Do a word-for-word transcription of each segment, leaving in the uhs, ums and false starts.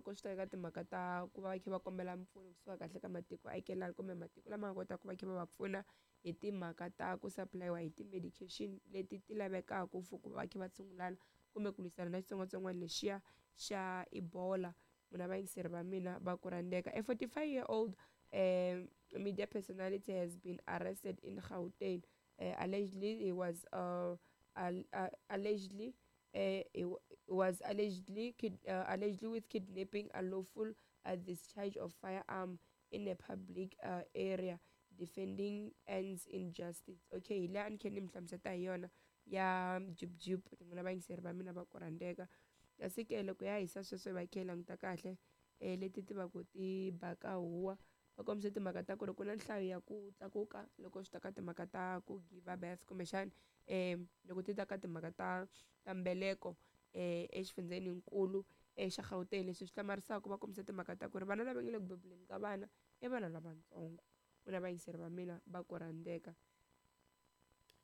Loko swi ta eka timhaka ta ku va va kha va kombela mpfuno kusuka kahle ka matiko akelani kumbe matiko lama nga kotaka ku va kha va va pfuna hi timhaka ta ku supply-iwa hi ti-medication leti ti lavekaka for ku va va kha va tshungulana kumbe ku lwisana na xitsongwatsongwana lexiya xa Ebola. N'wina vayingiseri va mina va ku rhandzeka. A forty-five year old um, media personality has been arrested in Gauteng. Uh, allegedly, he was uh, al- uh, allegedly uh, he was allegedly kid- uh, allegedly with kidnapping, unlawful uh, discharge of firearm in a public uh, area, defending ends in justice. Okay, hi laha ni khe ni mi hlamuseta hi yona ya Jub Jub, n'wina vayingiseri va mina va ku rhandzeka. Kasi ke loko ya hisa sweswo hi va khe hi languta kahle um leti ti va ku ti baka huwa va kombisa timhaka ta ku ri ku na nhlayo ya ku tlakuka loko swi ta ka timhaka ta ku give birth kumbexana um loko ti ta ka timhaka ta ta mbeleko um exifundzeninkulu xa Gauteng. Leswi swi hlamarisaka va kombisa timhaka ta ku ri vana lava nga le ku bebuleni ka vana i vana lavatsongo. N'wina vayingiseri va mina va ku rhandzeka.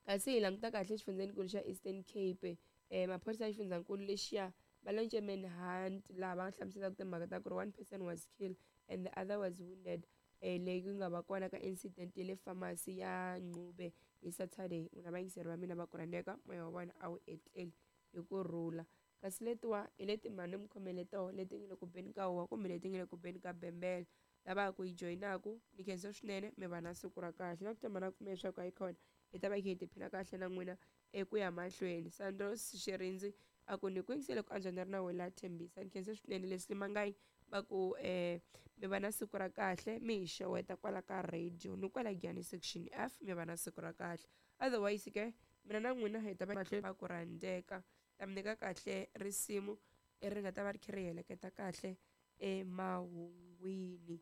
Kasi hi languta kahle xifundzenikulu xa Eastern Cape, um maphorisa ya xifundzankulu lexiya va launch manhunt laha va nga hlamuselaka timhaka ta ku ri one person was killed and the other was wounded um leyi ku nga va kona ka incident ya le pharmacy ya Nqube hi Saturday. N'wina vayingiseri va mina va ku rhandzeka, moya wa vona a wu etleli hi ku rhula. Kasi letiwa hi leti mhani mi khomele toho leti nga le ku beni ka huwa kumbe leti nga le ku beni ka bembele. Lava ku yi joyinaku ni khensa swinene, mi va na siku ra kahle na ku tshemba na ku pfumela leswaku hayikhona hi ta va hi kha hi tiphina kahle na n'wina eku ya mahlweni. Sandros Xirindzi a ku ni ku yingisele ku antswa ni ri na wena Thembisa, ni khensa swinene. Leswi Mangayi va ku um mi va na siku ra kahle, mi hi xeweta kwala ka radio ni kwala Giyani section F, mi va na siku ra kahle. Otherwise ke mina na n'wina hi ta va mahlweni va ku rhandzeka. Ta mi nyika kahle risimu leri nga ta va ri kha ri heleketa kahle emahungwini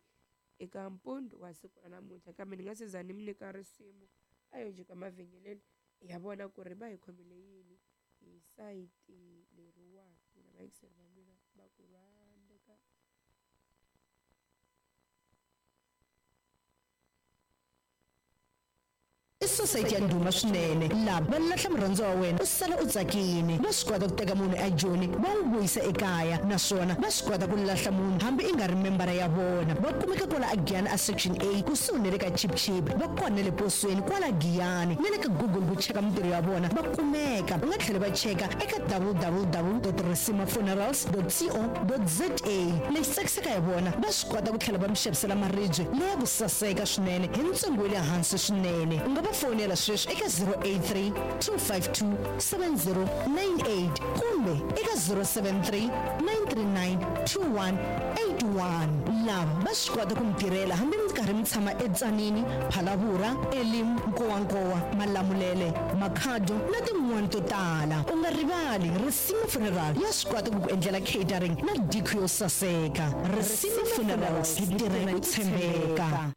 eka mpundzu wa siku ra namuntlha. Kambe ni nga se za ni mi nyika risimu, a yo jika mavhengeleni hi ya vona ku ri va hi khomele yini hi sayiti leriwani. N'wina vayingiseri va mina va ku rhandzeka. I society ya ndhuma swinene lava va lahla murhandziwa wa wena u sala u tsakini. Va swi kota ku teka munhu ejoni va n'wi vuyisa ekaya, naswona va swi kota ku lahla munhu hambi i nga ri membara ya vona. Va kumeka kwala aGiyani a section A kusuhi na le ka Chip Chip, va kona na le posweni kwala Giyani na le ka Google ku cheka mintirho ya vona va kumeka. U nga tlhela va cheka eka w w w dot risima funerals dot co dot za. Lexi tsakisaka hi vona, va swi kota ku tlhela va mi xavisela maribye leya ku saseka swinene hi ntsengo wa le hansi swinene. U nga va fonela sweswi eka zero eight three two five two seven zero nine eight kumbe eka zero seven three nine three nine two one eight one. Lava va swi kota ku mi tirhela hambi mi karhi mi tshama eTsanini, Phalavura, Elim, Nkowankowa, Malamulele, Makhado na tin'wani to tala. U nga rivali Risima Funeral ya swi kota ku ku endlela catering na diko yo saseka. Risima Funerals, hi tirha hi ku tshembeka.